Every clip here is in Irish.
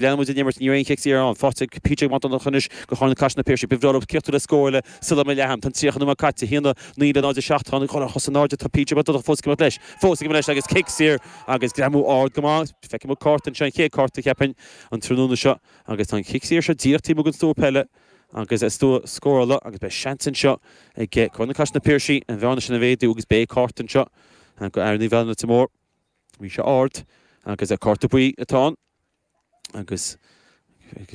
Leanann muid an imirt, ní raibh aon chic saor ann. Faighte ag PJ Mac Donncha anois do Chorr na Caiseal Na Piarsaigh. Ba bhreá leo críochnú le scór eile sula mbeidh leath-am. Tá an 30 nóiméad caite, 1, 9 le 0, 7. Tá an chos in airde, tá PJ Mac Donncha fós ag imeacht leis. Fós ag imeacht leis agus cic saor agus greamú ard go maith. Feicfidh muid cárta anseo, an chéad cárta cheapfainn an tráthnóna seo agus tá an chic saor seo díreach taobh amuigh den stua peile agus an stua scórála agus beidh seans anseo ag Corr na Caiseal Na Piarsaigh an bhearna sin a mhéadú agus beidh cárta anseo do fhear Naomh Anna Leitir Móir. Bhí sé ard agus cárta buí atá ann agus ag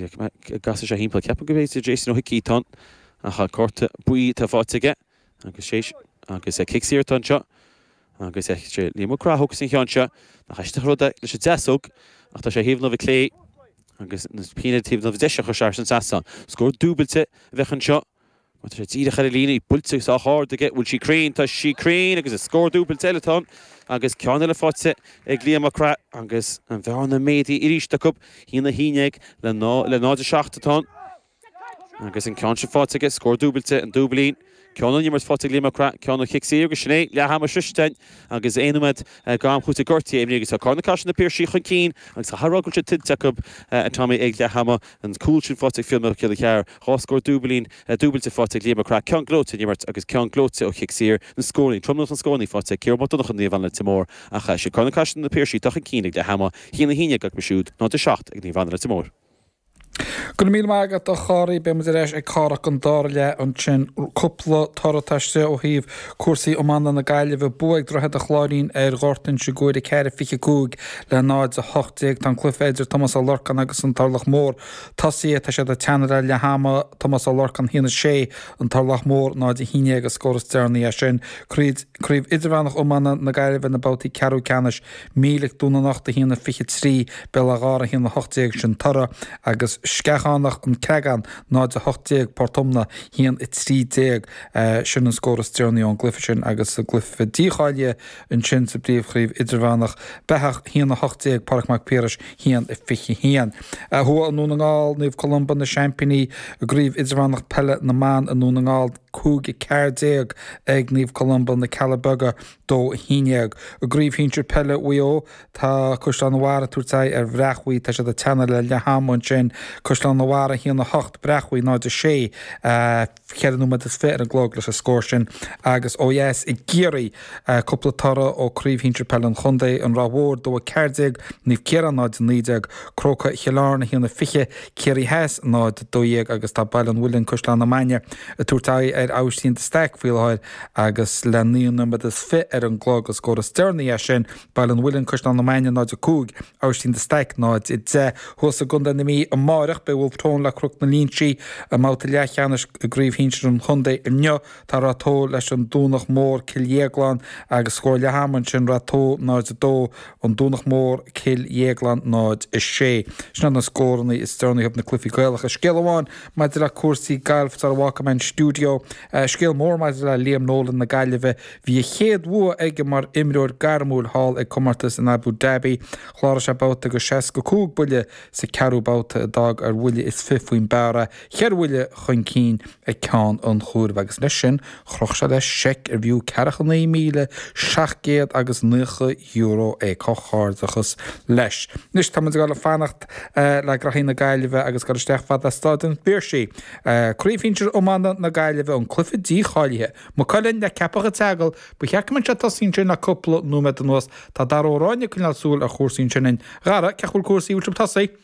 casadh sé thimpeall. Ceapaim go mb'fhéidir Jason Ó hIcí atá ann ach cárta buí atá faighte aige agus sé agus cic saor atá anseo agus sé Liam Mac Craith a thógfas an ceann seo. Nach aisteach an rud é leis an deasóg ach tá sé thaobh na láimhe clé agus na pinn ar taobh na láimhe deise a chuir sé thar an trasnán. Scór dúbailte a bheadh anseo. Má tá sé díreach ar an líne, í buailte sách ard aige, bhfuil sí cruinn? Tá sí cruinn agus is scór dúbailte eile atá ann agus ceann eile faighte ag Liam Mac Craith agus an bhearna méadaithe arís acu, 1, 11 le 0, 7 atá ann agus an ceann sin faighte aige, scór dúbailte, an dúbailín. Ceann ón imirt faighte ag Liam Mac Craith, ceann ó chic saor agus sin é, leath ama sroichte againn agus aon nóiméad d'am cúitimh gortaithe imrithe agus tá Corr na Caiseal Na Piarsaigh chun cinn agus caithfidh a rá go bhfuil sé tuillte acu, a Tommy, ag leath ama. An cúl sin faighte ag Fionn Mac Giolla Chearr, 2 scór dúbailín, dúbailte faighte ag Liam Mac Craith, ceann gleoite ón imirt agus ceann gleoite ó chic saor, na scóranna, tromlach na scóranna faighte ag Ciarán Mac Donncha Naomh Anna Leitir Móir ach sé Corr na Caiseal Na Piarsaigh atá chun cinn ag leath ama, 1-11 acu siúd, 0-7 ag Naomh Anna Leitir Móir. Go raibh míle maith agat a Chárthaigh. Beidh muid ar ais ag cárthach an dara leath ansin. Cúpla toradh atá istigh ó thaobh cúrsaí iomána na Gaillimhe. Bua ag Droichead an Chláirín ar Ghort Inse Guaire 4, 25 le 0, 18. Tá an cluiche idir Tomás Ó Lorcáin agus an Turlach Mór tosaithe. Tá siad ag teannadh le leath ama. Tomás Ó Lorcáin 1, 6, An Turlach Mór 0, 11 an scór is deireanaí é sin. Craobh Idirmheánach Iomána na Gaillimhe na babhtaí ceathrú ceannais. Mílic, Dún na nOchta 1, 23, Béal Átha Ghártha 1, 18, sin toradh, agus Sceachánach, An Creagán 0, 18, Port Omna 1, 13, sin an scór is deireanaí ón gcluiche sin agus sa gcluiche dícháilithe ansin sa bpríomhchraobh idirmheánach, Beathach 1, 18, Pádraig Mac Piarais 1, 21. Thuaidh i nDún na nGall, Naomh Columba na seaimpíní i gcraobh idirmheánach peile na mban i nDún na nGall, 5, 14 ag Naomh Columba na Cealla Beaga 2, 11. I gCraobh Shinsir Peile Mhaigh Eo, tá Caisleán an Bharraigh ag tabhairt aghaidh ar Bhreachmhaigh. Tá siad ag teannadh le leath ama ansin. Caisleán an Bharraigh 1, 8, Breachmhaigh 0, 6. 4 nóiméad is 20 ar an gclog leis an scór sin. Agus ó dheas i gCiarraí, cúpla toradh ó Craobh Shinsir Peile an Chontae, An Ráth Mhór 2, 14, Naomh Ciarán 0, 19, Crócaigh Chill Airne 1, 20, Ciarraí Theas 0, 12 agus tá Baile an Mhuilinn, Caisleán na Mainge ag tabhairt aghaidh ar Aibhistín de Staic faoi láthair agus le 9 nóiméad is 20 ar an gclog an scór is deireanaí é sin, Baile an Mhuilinn, Caisleán na Mainge 0, 5, Aibhistín de Staic 0, 10. Thuas i gContae na Mí amáireach beidh Wolfe Tone le Cnoc na Línsí i mbabhta leathcheannais i gCraobh Shinsir an Chontae inniu. Tá Rath Tó leis an Domhnach Mór, Cill Dhéagláin agus scór leath ama ansin, Rath Tó 0, 2, An Domhnach Mór, Cill Dhéagláin 0, 6. Sin iad na scóranna is deireanaí ó thaobh na cluichí Gaelacha. Scéal amháin maidir le cúrsaí gailf sara bhfágfaidh mé an stiúideo. Scéal mór maidir le Liam Nolan na Gaillimhe. Bhí a chéad bhua aige mar imreoir gairmiúil thall ag comórtas in Abu Dhabi. Chláraigh sé babhta de 65 buille sa ceathrú babhta a d'fhág ar bhuille is 20 faoin bpar é, cheithre bhuille chun cinn ag ceann an chomhairimh agus leis sin chroch sé leis seic arbh fhiú €49,700 agus €90 é. Comhghairdeachas leis. Anois tá muid ag dul ag fanacht le graithí na Gaillimhe agus ag dul isteach fad le Stáid an Phiarsaigh. Craobh Shinsir Iomána na Gaillimhe, an cluiche dícháilithe. Maigh Cuilinn le Ceapach an tSeagail, ba cheart go mbeadh sé tosaithe ansin le cúpla nóiméad anuas. Tá Dara Ó Ráinne ag coinneáil súil ar chúrsaí ansin. A Dhara, cén chaoi a bhfuil cúrsaí, bhfuil sibh tosaithe?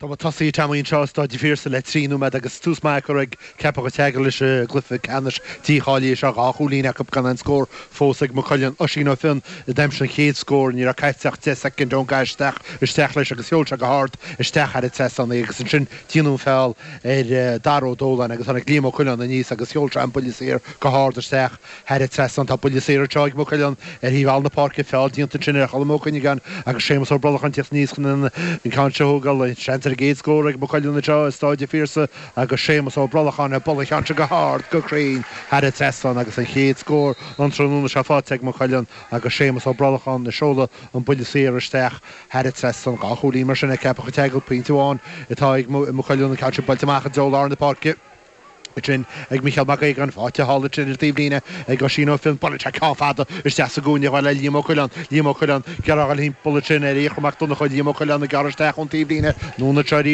Tá muid tosaithe Tommy anseo i Stáid an Phiarsaigh le 3 nóiméad agus tús maith curtha ag Ceapach an tSeagail leis an gcluiche ceannais dícháilithe seo. 2 chúilín acu gan aon scór fós ag Maigh Cuilinn. Oisín Ó Fionn a d'aimsigh an chéad scór. Ní raibh caite ach 10 soicind ón gcaith isteach isteach leis agus sheol sé go hard isteach thar an trasnán é agus ansin déanadh an feall ar Dara Ó Dóláin agus tháinig Liam Ó Coileáin aníos agus sheol sé an buille saor go hard isteach Thar an trasnán tá buille saor anseo ag Maigh Cuilinn ar thaobh thall na páirce. Feall déanta ansin ar Cholm Ó Cuinneagáin agus Séamus Ó Brolacháin ag tíocht aníos chun an ceann seo a thógáil. Seans ar an gcéad scór ag Maigh Cuilinn anseo i Stáid an Phiarsaigh agus Séamus Ó Brolacháin ag bualadh an cheann seo go hard, go cruinn thar an trasnán agus an chéad scór an tráthnóna seo faighte ag Maigh Cuilinn agus Séamus Ó Brolacháin ag seoladh an buille saor isteach thar an trasnán. 2 chúilín mar sin ag Ceapach an tSeagail, pointe amháin atá ag Maigh Cuilinn, an ceann sin buailte amach i dtreo lár na páirce. Ansin ag Mícheál Mac Aogáin, faighte thall ansin ar an taobhlíne ag Oisín Ó Fionn. Buaileann sé ceann fada isteach sa gcúinne chomh fada le Liam Ó Coileáin. Liam Ó Coileáin ag iarraidh a dhul thimpeall ansin ar Fhiachra Mac Donncha. Liam Ó Coileáin ag gearradh isteach ón taobhlíne. Anonn anseo arís.